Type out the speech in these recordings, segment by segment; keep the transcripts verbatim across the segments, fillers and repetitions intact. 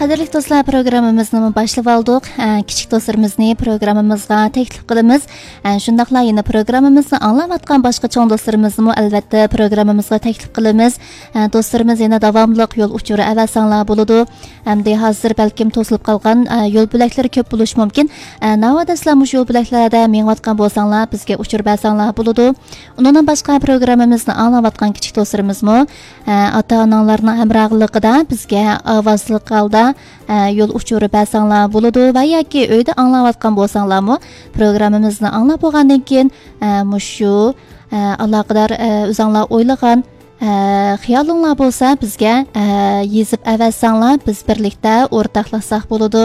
قەدىرلىك دوستلار، پروگراممىمىزنىمۇ باشلىۋالدۇق. ئە، كىچىك دوستلىرىمىزنى پروگراممىمىزغا تەكلىپ قىلىمىز. ئە، شۇنداقلا يەنە پروگراممىمىزنى ئاڭلاۋاتقان باشقا چوڭ دوستلىرىمىزنىمۇ ئەلۋەتتە پروگراممىمىزغا تەكلىپ قىلىمىز. ئە، دوستلىرىمىز يەنە داۋاملىق يول ئۇچۇرى ئەۋەتسەڭلار بولىدۇ. ئەمدى ھازىر بەلكىم توسۇلۇپ قالغان، ئە، يول بۆلەكلىرى كۆپ بولۇشى مۇمكىن. ئە، ناۋادا سىلەر مۇشۇ يول بۆلەكلەردە مېڭىۋاتقان بولساڭلار، بىزگە ئۇچۇر بەرسەڭلار بولىدۇ. ئۇنىڭدىن باشقا پروگراممىمىزنى ئاڭلاۋاتقان كىچىك دوستلىرىمىزمۇ، ئە، ئاتا-ئاناڭلارنىڭ ھەمراھلىقىدا بىزگە ئاۋازلىق ھالدا، ئە، يول ئۇچۇرى بەرسەڭلار بولىدۇ ۋە ياكى ئۆيدە ئاڭلاۋاتقان بولساڭلارمۇ، پروگراممىمىزنى ئاڭلاپ بولغاندىن كېيىن، ئە، مۇشۇ، ئە، ئالاقىدار، ئە، ئۆزۈڭلار ئويلىغان، ئە، خىيالىڭلار بولسا بىزگە، ئە، يېزىپ ئەۋەتسەڭلار، بىز بىرلىكتە ئورتاقلاشساق بولىدۇ.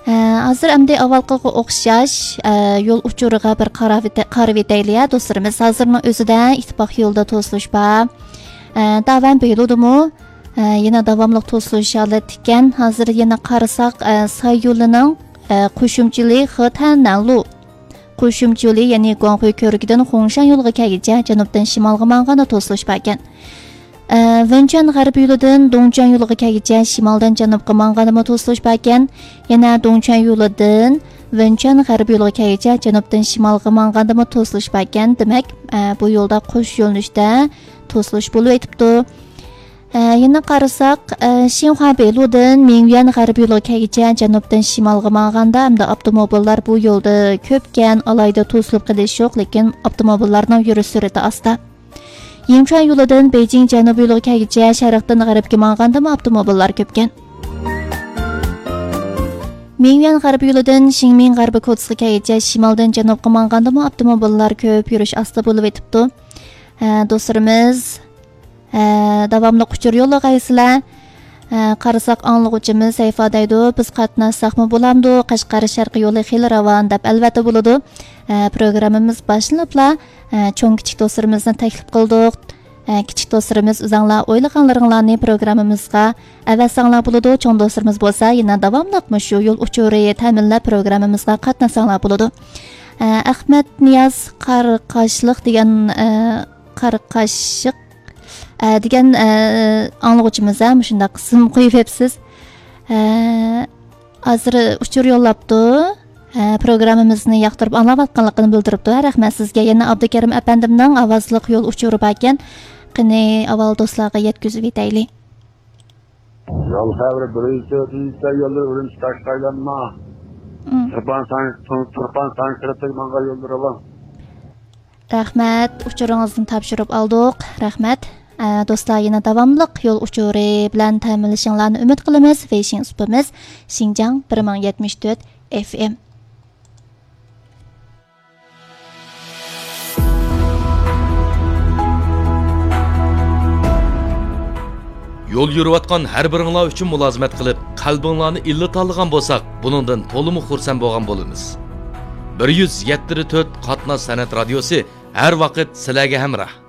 ئە، ھازىر ئەمدى ئاۋۋالقىغا ئوخشاش، ئە، يول ئۇچۇرىغا بىر قاراۋېتە-، قارىۋېتەيلى، ھە، دوستلىرىمىز. ھازىرنىڭ ئۆزىدە ئىتتىپاق يولىدا توسۇلۇش بار. ئە، داۋەن بېيلۇدىمۇ، ئە، يەنە داۋاملىق توسۇلۇش ھالەتتە ئىكەن. ھازىر يەنە قارىساق، ئە، ساي يولىنىڭ، ئە، قوشۇمچىلى خېتەننەنلۇ، قوشۇمچىلى، يەنى گۇاڭخۇي كۆۋرۈكىدىن خۇڭشەن يولىغا كەلگۈچە جەنۇبتىن شىمالغا ماڭغاندا توسۇلۇش باركەن. ئە، ۋېنچۈەن غەربىي يولىدىن دۇڭچۈەن يولىغا كەلگۈچە شىمالدىن جەنۇبقا ماڭغاندىمۇ توسۇلۇش باركەن. يەنە دۇڭچۈەن يولىدىن ۋېنچۈەن غەربىي يولىغا كەلگۈچە جەنۇبتىن شىمالغا ماڭغاندىمۇ توسۇلۇش باركەن. دېمەك، ئە، بۇ يولدا قوش يۆنىلىشتە توسۇلۇش بولۇۋېتىپتۇ. ئە، يەنە قارىساق، ئە، شىنخۇا بېيلۇدىن مىڭيۈەن غەربىي يولىغا كەلگۈچە جەنۇبتىن شىمالغا ماڭغاندا، ئەمدى ئاپتوموبىللار بۇ يولدا كۆپكەن، ئالاھىدە توسۇلۇپ قېلىش يوق، لېكىن ئاپتوموبىللارنىڭ يۈرۈش سۈرئىتى ئاستا. يىڭچۈەن يولىدىن بېيجىڭ جەنۇبىي يولىغا كەلگۈچە شەرقتىن غەربكە ماڭغاندىمۇ ئاپتوموبىللار كۆپكەن. مىڭيۈەن غەربىي يولىدىن شىڭمىڭ غەربىي كوچىسىغا كەلگۈچە شىمالدىن جەنۇبقا ماڭغاندىمۇ ئاپتوموبىللار كۆپ، يۈرۈش ئاستا بولۇۋېتىپتۇ. ھە، دوستلىرىمىز، ھە، داۋاملىق ئۇچۇر يوللىغايسىلەر. ھە، قارىساق، ئاڭلىغۇچىمىز سەيفا دەيدۇ، بىز قاتناشساقمۇ بولامدۇ؟ قەشقەر شەرقىي يولى خېلى راۋان، دەپ. ئەلۋەتتە بولىدۇ. ھە، پروگراممىمىز باشلىنىپلا، ھە، چوڭ كىچىك دوستلىرىمىزنى تەكلىپ قىلدۇق. ئە، كىچىك دوستلىرىمىز، ئۆزەڭلار ئويلىغانلىرىڭلارنى پروگراممىمىزغا ئەۋەتسەڭلار بولىدۇ. چوڭ دوستلىرىمىز بولسا يەنە داۋاملىق مۇشۇ يول ئۇچۇرى تەمىنلەپ پروگراممىمىزغا قاتناشساڭلار بولىدۇ. ئە، ئەخمەت نىياز قارقاشلىق دېگەن، ئە، قارقاشلىق، ئە، دېگەن، ئە، ئاڭلىغۇچىمىز، ھە، مۇشۇنداق ئىسىم قويۇۋېپسىز. ئە، ھازىر ئۇچۇر يوللاپتۇ. ھە، پروگراممىمىزنى ياقتۇرۇپ ئاڭلاۋاتقانلىقىنى بىلدۈرۈپتۇ. ھە، رەھمەت سىزگە. يەنە ئابدۇكېرىم ئەپەندىمنىڭ ئاۋازلىق يول ئۇچۇرى باركەن. قېنى، ئاۋۋال دوستلارغا يەتكۈزۈۋېتەيلى. يول خەۋىرى بىر يۈز تۆتىنچى يوللىرى ئۈرۈمچى تاشقى ئايلانما. مم. تۇرپان سان-، تۇر-، تۇرپان سانكرېتىگە ماڭغان يوللىرى بار. رەھمەت، ئۇچۇرىڭىزنى تاپشۇرۇپ ئالدۇق. رەھمەت. ئە، دوستلار، يەنە داۋاملىق يول ئۇچۇرى بىلەن تەمىنلىشىڭلارنى ئۈمىد قىلىمىز. ۋېيشىڭ سۇپىمىز شىنجاڭ بىر مىڭ يەتمىش تۆت ئېف ئېم. يول يۈرۈۋاتقان ھەر بىرىڭلار ئۈچۈن مۇلازىمەت قىلىپ، قەلبىڭلارنى ئىللىتالىغان بولساق، بۇنىڭدىن تولىمۇ خۇرسەن بولغان بولىمىز. بىر يۈز يەتتە تۆت قاتناش سەنئەت رادىيوسى ھەر ۋاقىت سىلەرگە ھەمراھ.